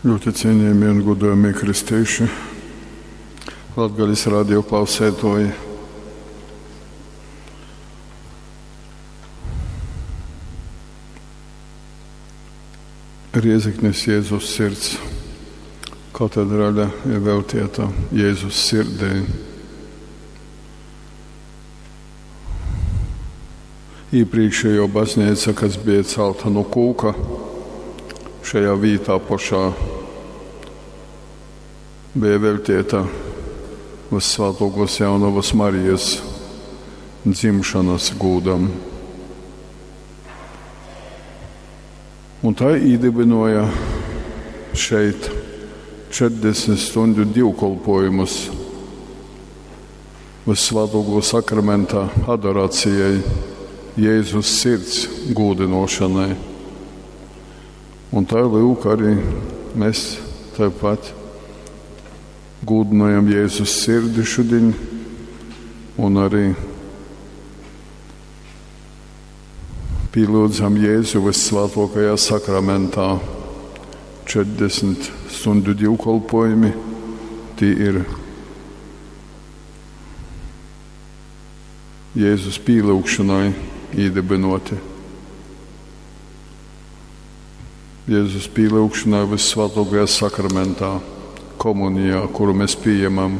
Ļoti cienījamie un godājamie kristieši, Latgales radio klausētoji. Rieziknis Jēzus sirds katedrale ir veltīta Jēzus sirdī. Iepriekšējo baznīca, kas bija celta no kūka, šajā vītā pašā bija veltīta Vissvētākos Jaunavas Marijas dzimšanas gūdam. Un tā iedibināja šeit 40 stundu dievkalpojumus Vissvētāko sakramentā adorācijai, Jēzus sirds gūdinošanai. Un tā lūk arī mēs tāpat gūdinojam Jēzus sirdi šodien un arī pielūdzam Jēzu vissvētākajā sakramentā. 40 stundu dievkalpojumi tie ir Jēzus pielūgšanai iedibinoti. Jēzus pielūgšanai vissvētākajā sakramentā, komunijā, kuru mēs pieņemam.